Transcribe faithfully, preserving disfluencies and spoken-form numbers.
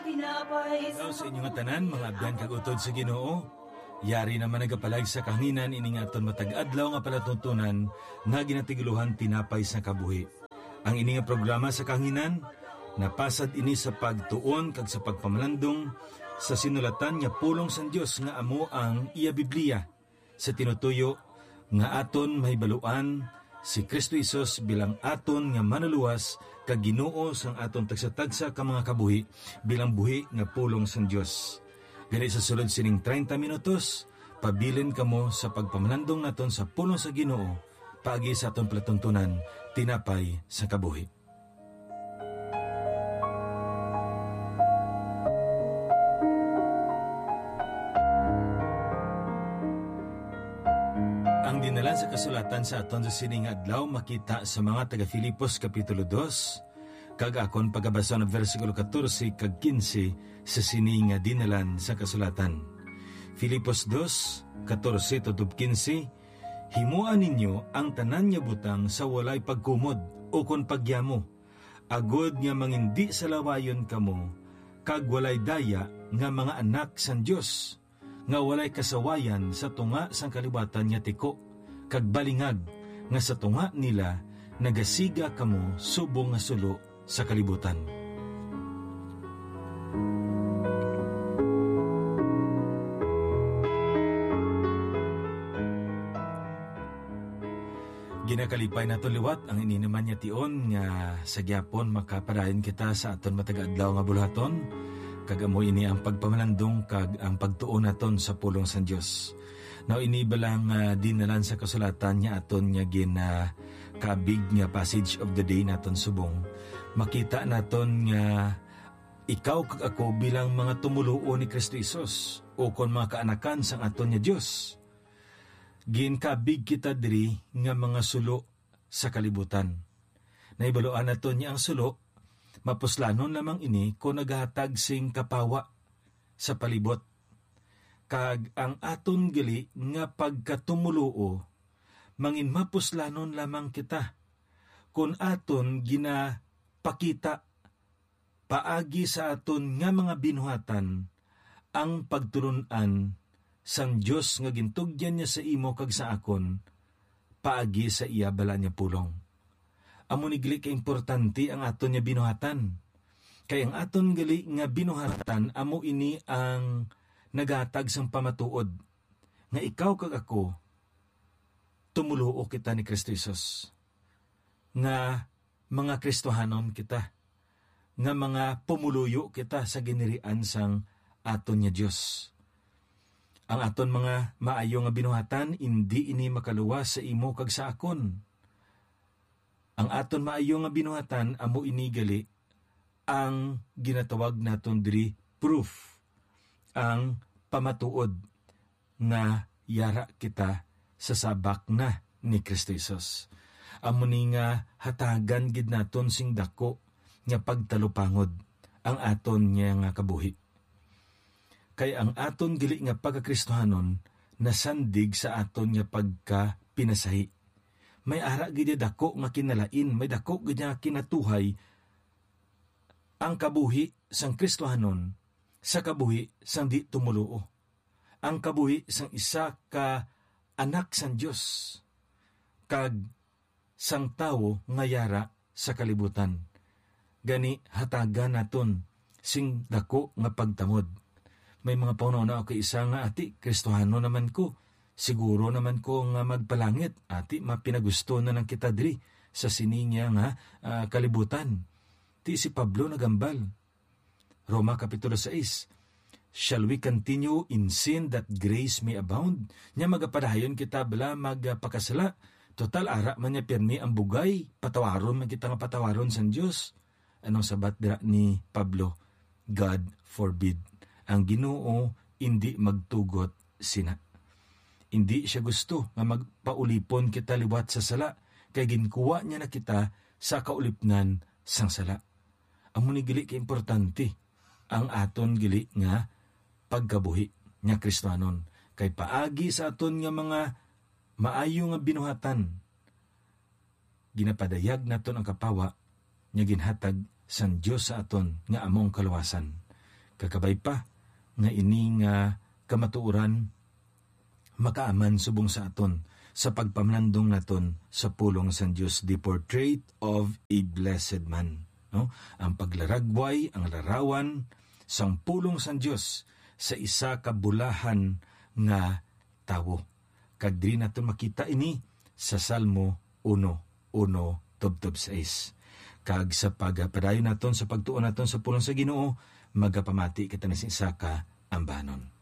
Tinapay sa Hello sa inyo nga tanan, mga abyan kag utod sa Ginoo. Yari naman nagapalag sa kahanginan ini nga aton matag adlaw nga palatuntunan nga ginatigulohan Tinapay sa Kabuhi. Ang ini nga programa sa kahanginan, napasad ini sa pagtuon kag sa pagpamalandong sa sinulatan nga pulong sang Dios nga amo ang iya Biblia. Sa tinutuyo nga aton mahibaluan si Cristo Jesus bilang aton nga Manlulowas kag Ginoo sang aton tagsa-tagsa ka mga kabuhi, bilang buhi nga pulong sang Dios. Gani, sa sulod sining treinta minutos, pabilin kamo sa pagpamalandong naton sa pulong sa Ginoo paagi sa aton palatuntunan, Tinapay sa Kabuhi. Ang dinalan sa kasulatan sa aton sa sini nga adlaw makita sa mga taga Filipos Kapitulo dos, kag akon pagabasa ang bersikulo katorse kag kinse sa sini nga dinalan sa kasulatan. Filipos dos, katorse tutob kinse, "Himoa ninyo ang tanan nga butang sa walay pagkumod ukon pagyamo, agod nga mangindisalawayon kamo kag walay daya nga mga anak sang Dios, nga walay kasawayan sa tunga sang kaliwatan nga tiko, kag balingag nga sa tunga nila nagasiga kamo subong nga sulo sa kalibutan." Ginakalipay naton liwat ang ini naman nga tion nga sa gihapon makapadayon kita sa aton matag adlaw nga buluhaton, kag amo ini ang pagpamalandong kag ang pagtuon naton sa pulong sang Dios. Now, ini bala nga dinalan sa kasulatan nga aton nga gin, ah, kabig nga passage of the day naton subong, makita naton nga ikaw kag ako bilang mga tumoluo ni Cristo Jesus, ukon mga kaanakan sang aton nga Dios, ginkabig kita diri nga mga sulo sa kalibutan. Nahibaluan naton nga ang sulo, mapuslanon lamang ini kon nagahatag sing kapawa sa palibot. Kag ang aton gali nga pagkatumoluo, manginmapuslanon lamang kita kon aton ginapakita paagi sa aton nga mga binuhatan ang pagtulon-an sang Dios nga gintugyan niya sa imo kag sa akon paagi sa iya balaan nga pulong. Amo ni gali ka importante ang aton nga binuhatan, kay ang aton gali nga binuhatan amo ini ang naghatag sang pamatuod nga ikaw kag ako tumoluo kita ni Cristo Jesus, nga mga Kristohanon kita, nga mga pumoluyo kita sa ginharian sang aton nga Dios. Ang aton mga maayo nga binuhatan, indi ini makaluwas sa imo kag sa akon. Ang aton maayo nga binuhatan amo ini gali ang ginatawag naton diri proof, ang pamatuod nga yara kita sa sabak na ni Cristo Jesus. Amo ni nga hatagan gid naton sing dako nga pagtalupangod ang aton niya nga kabuhi. Kay ang aton gali nga pagkakristohanon nasandig sa aton nga pagkapinasahi. May ara gid dako nga kinalain, may dako gid nga kinatuhay ang kabuhi sang Kristohanon sa kabuhi sang di-tumoluo, ang kabuhi sang isa ka anak sang Dios, kag sang tawo nga yara sa kalibutan. Gani, hatagan naton sing dako nga pagtamod. May mga panghunahuna ako, isa nga, "Ati, Kristohanon naman ko. Siguro naman ko nga magpalangit. Ati, mapinagusto na lang kita diri sa sini nga, nga, ah, kalibutan." Ti si Pablo nagambal. Roma Kapitulo sais, "Shall we continue in sin that grace may abound?" Nya, magapadayon kita bala magpakasala? Total, ara man niya pirmi ang bugay, patawaron man kita nga patawaron sang Dios. Anong sabat dira ni Pablo? "God forbid." Ang Ginoo indi magtugot sina. Indi siya gusto nga magpaulipon kita liwat sa sala, kay ginkuha niya na kita sa kaulipnan sang sala. Amo ni gali ka importante ang aton gali nga pagkabuhi nga Kristiyanon, kay paagi sa aton nga mga maayo nga binuhatan, ginapadayag naton ang kapawa nga ginhatag sang Dios sa aton, nga amo ang kaluwasan. Kakabay pa nga ini nga kamatuoran makaaman subong sa aton sa pagpamlandong naton sa pulong sang Dios, the portrait of a blessed man, no? Ang paglaragway, ang larawan sang pulong sang Dios sa isa ka bulahan nga tawo. Kag diri naton makita ini sa Salmo uno, uno tubtob sais. Kag sa pagpadayon naton sa pagtuon naton sa pulong sa Ginoo, magapamati kita na sa isa ka ambanon.